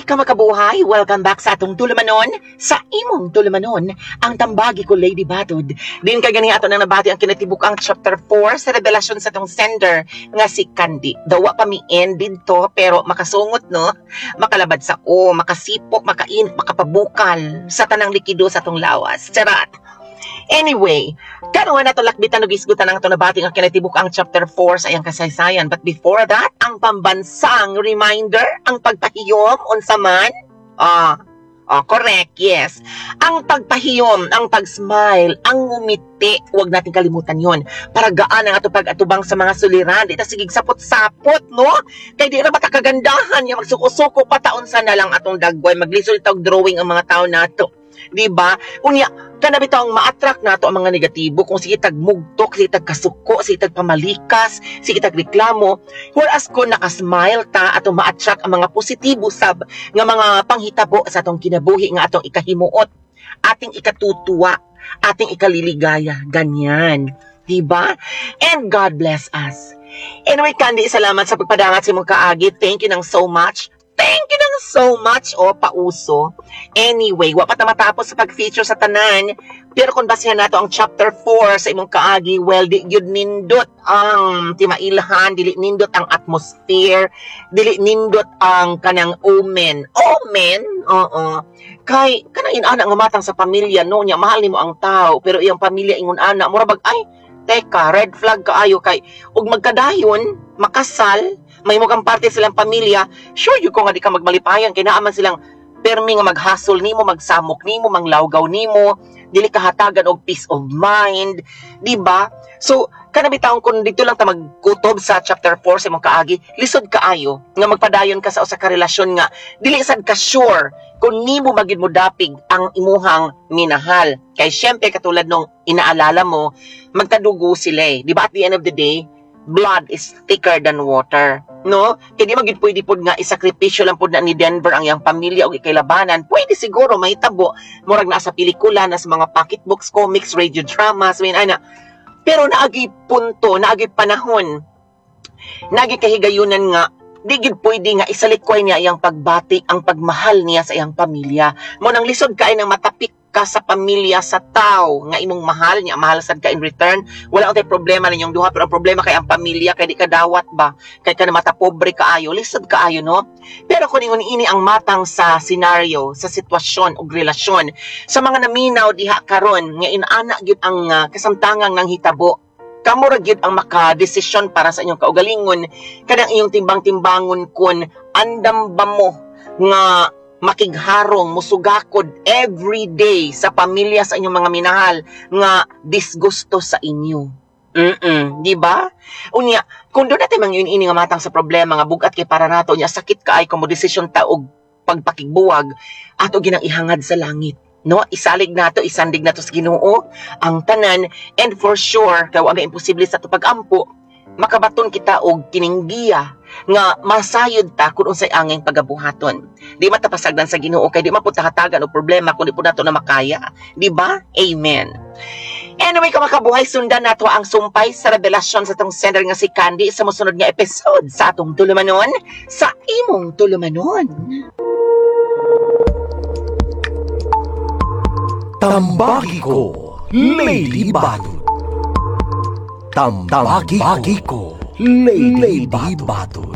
Kamakabuhay, welcome back sa atong tulumanon, sa imong tulumanon, ang Tambagi Ko, Lady Batud. Din kay gani ato nang nabati ang kinatibuk-ang chapter 4 sa revelasyon sa atong sender nga si Candy. Dawa pa mi end didto pero makasungot, no, makalabad sa o, makasipok, makainit, makapabukal sa tanang likido sa atong lawas. Charot! Anyway, karon nato lakbitan og isgutan ang ato nabati nga kinatibuk-ang chapter 4 sa iyang kasaysayan. But before that, ang pambansang reminder, ang pagpahiyom, unsa man? Ah, correct, yes. Ang pagpahiyom, ang pag-smile, ang ngumiti, huwag natin kalimutan yon. Para gaan ang ato pag-atubang sa mga suliran, di ta sigig sapot-sapot, no? Kay di ra ba ta kagandahan nga magsuko-suko pa taon sa na lang atong dagway, maglisod tag drawing ang mga tao nato. Di ba? Unya, kana bitaw ang ma-attract nato ang mga negatibo kung sige tag mugtok, sige tag kasuko, sige tag pamalikas, sige tag reklamo. Whereas kung nakasmile ta, atong ma-attract ang mga positibo sab nga mga panghitabo sa atong kinabuhi nga atong ikahimuot, ating ikatutuwa, ating ikaliligaya, ganyan. Diba? And God bless us. Anyway, Candy, salamat sa pagpadangat sa imong kaagi. Thank you nang so much. Thank you nang so much, oh, pauso. Anyway, wa pa ta matapos sa pag-feature sa tanan. Pero kung basehan nato ang chapter 4 sa imong kaagi, well, di gyud nindot ang timailhan, dili nindot ang atmosphere, dili nindot ang kanang omen. Omen? Oo. Kay, kanang inana nga matang sa pamilya, no, nya, mahal nimo ang tao, pero iyang pamilya ingon ana, mura bag, ay, teka, red flag kaayo kay, ug magkadayon, makasal, may kang parte silang pamilya, sure you ko nga di ka magmalipayan, kay naa man silang permi nga maghasol nimo, magsamok nimo, manglawgaw nimo, dili ka hatagan og peace of mind, di ba? So, kana bitawng kung dito lang ta magkutob sa chapter 4 sa imong kaagi, lisod kaayo nga magpadayon ka sa usa ka relasyon nga dili sad ka sure kung nimo magid mo dapig ang imuhang minahal. Kay syempre katulad nung inaalala mo, magkadugo sila eh. Di ba at the end of the day, blood is thicker than water. No? Kaya di magid pwede pod nga isakripisyo lang pod na ni Denver ang iyang pamilya o ikailabanan. Pwede siguro mahitabo. Murag na sa pelikula, na sa mga pocketbooks, comics, radio dramas, I mean, ana. Pero naagi punto, naagi panahon, naagi kahigayunan nga di gid pwede nga isalikway niya iyang pagbati, ang pagmahal niya sa iyang pamilya. Mo nang lisod kay nang matapik ka sa pamilya sa tao nga imong mahal niya, mahal sad ka in return. Wala untay problema ninyong duha, pero ang problema kay ang pamilya, kay di ka dawat ba, kay ka na mata pobre kaayo, lisod kaayo, no? Pero kung ingon ini ang matang sa scenario, sa sitwasyon ug relasyon sa mga naminaw diha karon nga inaana gyud ang kasamtangang nang hitabo, kamo ra gyud ang makadesisyon para sa inyong kaugalingon, kanang iyong timbang-timbangon kun andam ba mo nga makigharong, musugakod every day sa pamilya sa inyong mga minahal nga disgusto sa inyo. Di ba? Unya, kung doon natin mang ini nga matang sa problema nga bugat kay para nato, unya sakit kaay kung mo desisyon ta og pagpakigbuwag, ato ginang ihangad sa langit. No, isalig nato, isandig nato sa Ginoo ang tanan, and for sure kay wa may imposible sa ato pagampo, makabaton kita og kining giya nga masayod ta kung unsay anging pagabuhaton. Di man ta pasagdan sa Ginoo kay di man pud ta hatagan og problema kung di pud nato na makaya. Di ba? Amen. Anyway, kamakabuhay, sundan nato ang sumpay sa revelasyon sa atong sender nga si Candy sa mosunod nga episode sa atong tulumanon, sa imong tulumanon. Tambagi Ko, Lady Batud. Tambagi Ko, Lady Batud.